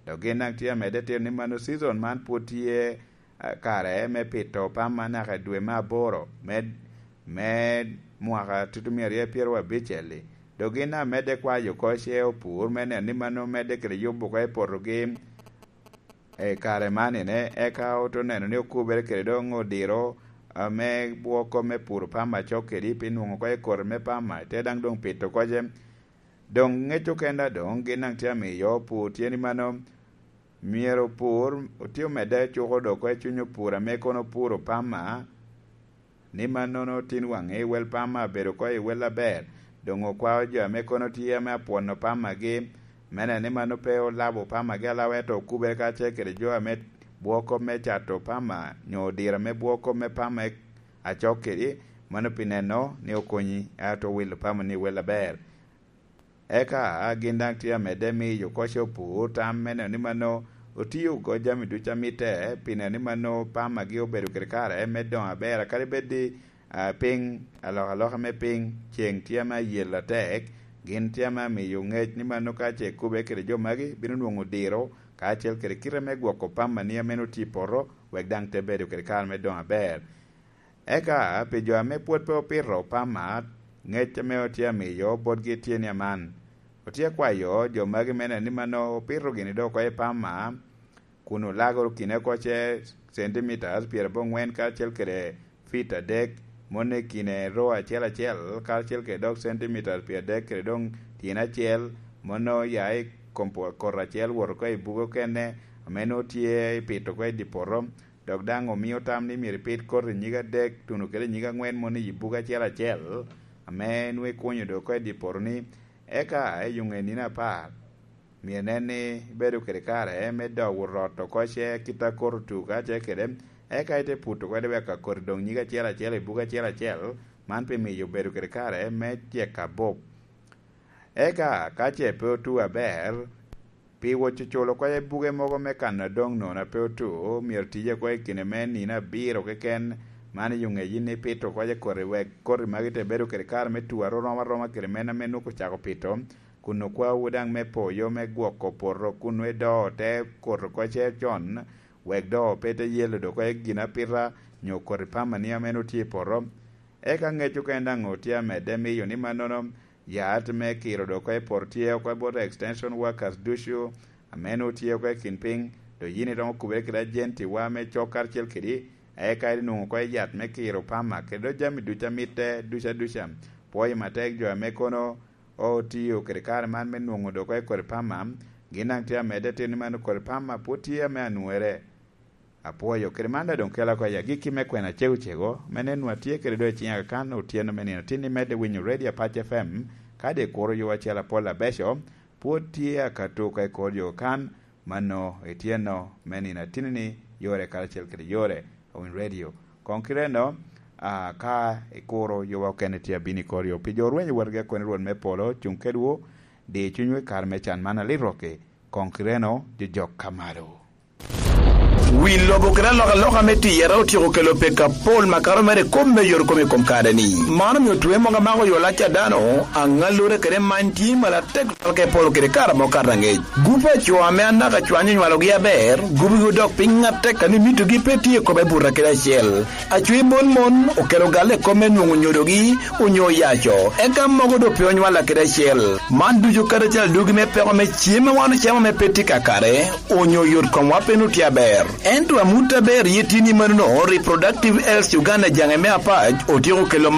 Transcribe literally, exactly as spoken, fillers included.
Dok gin daŋ tye amedde tito ni mano cizon man pwod tye, eh, kare me pito pama naka i dwe me aboro me, me mwaka tutumia aryo pyeraryo abicel-li. Dok gin daŋ medde kwayo oko ce opur me neno ni mano medde kede yubo oko i potogi i kare man ene, eka ote neno ni okubere kede doŋ odiro, ah, me bwoko me puro pama acok kedi, pi nwoŋo oko i koti me pama, te daŋ doŋ pito oko ce. Doŋ ŋec okenda doŋ gin daŋ tye amiyo pur tye ni mano, myero opur, otye omedde cuko doŋ oko i cuny opur ame kono opuro pama, ni mannono tin waŋe i wel pama abedo oko i wel aber, doŋ okwao jo ame kono tye ame apwono pamagi, me neno ni mano pe olabo pamagi alaba, ento okubere kacel kede jo ame bwoko me cato pama, nyo odiro ame bwoko me pama acok kedi, mano pi neno ni okonyi, ento owilo pamani i wel aber. Eka gin daŋ tye amedde miyo oko ce opur tam me neno ni mano otio oko jami ducu a mitte, pi neno ni mano pamagi obedo kede kare me doŋo aber, kadi bed i, ah, piny, alokaloka me piny, ceŋ tye ame ayel atek, gin tye ame amiyo ŋec ni mano ka ce ekube kede jo magi, bino nwoŋo diro, kacel kede kite me gwoko pamani ame nwoŋo tye i poto, wek daŋ te bedo kede kare me doŋo aber. Eka pi jo ame pwod pe opito pama, ŋec ame otye amiyo botgi tye ni aman. Otye akwayo jo magi me neno ni mano opito gini doŋ oko i pama, kun olago kine oko ce centimeters pyerabongwen karacel kede feet adek, moni i kine row acel acel, karacel kede dok centimeters pyeradek kede doŋ tyen acel, mano ya i kom po-, koti acel wot oko i bugo okene, ame nwoŋo tye i pito oko i dye poto. Dok daŋ omio tam ni myero ipit koti nyig adek, tuno kede nyig angwen moni i bugo acel acel, ame nwoŋo ikunyo doŋ oko i dye poto-ni. Eka i yo ŋe nino apar, myero inen ni ibedo kede kare me dogo rot oko ce kit a koti otu kacel kede, eka ite puto kede wek a koti doŋ nyig acel acel i bugo acel acel, man pi miyo obedo kede kare me tyeko abup. Eka ka ce pe otu aber, pi woco culo oko i buge mogo me kano adoŋ nono a pe otu, myero tije oko i kine me nino abiro keken, man i yo ŋe yin ipito oko i koti, wek koti magi te bedo kede kare me tu arorom aroma kede meno ame nwoŋo ocako pito, kun okwawu daŋ me poyo me gwoko poto kun nwoŋo idoo te koti oko ce con, wek doŋ pe te yelo doŋ oko i gin apita nyo koti pamani ame nwoŋo tye i poto. Eka ŋec okene daŋ otye amedde miyo ni mannono, yat me kiro doŋ oko i poto tye oko bot extension workers ducu, ame nwoŋo tye oko i kin piny, dok yin iromo kubere kede ajentiwa me cok karacel kedi, eka inwoŋo oko i yat me kiro pama, kede dok jami ducu a mitte ducu aduca. Pwoyo matek jo ame kono otio kede kare man me nwoŋo doŋ oko i koti pama, gin daŋ tye amedde tito ni mano koti pama pwod tye ame anwere. Apwoyo, kede man daŋ doŋ kela oko i agikki me kwena cegocego, me nen nwa tye kede doŋ i ciŋa kakan otyeno me nino tin imedde winyo Radio Apac F M, kadi ikuro yo acel apol abeco, pwod tye akato oko i kor yo kan, mano ityeno me nino atinni yore karacel kede yore, Awiny Radio. Koŋ kite eno, a, ka ikuro yowa okene tye abino i kor yo. Pi jo orwenyo wotgi akoni Rwot me polo, cuŋ kedwu, di cunywu i kare me can man alit rokki, koŋ kite eno, jojok ka malo. Wi lobo kede alokaloka me tiyere otyeko kelo peko apol makato mere i kop me yot kom i kom kare-ni. Man omio twe mogo amako yo lac a dano, aŋallure kede many tye malatek twal ka i polo kede kare amo kato aŋec. Gupe a co ame anaka cwany onywalogi aber, gubigi odok piny atek ame mitogi pe tye i kome buto kede acel. Acwe bol mon okelo galle i kop me nwoŋo nyodogi onyo oyaco, eka mogo doŋ pe onywalla kede acel. Man ducu kadi acel adugi me peko me cem a wan ocamo ame pe tye kakare, onyo yot komwa pe nwoŋo tye aber. Ento amut aber iye tye ni manono, Reproductive Health Uganda jaŋe me Apac otyeko kelo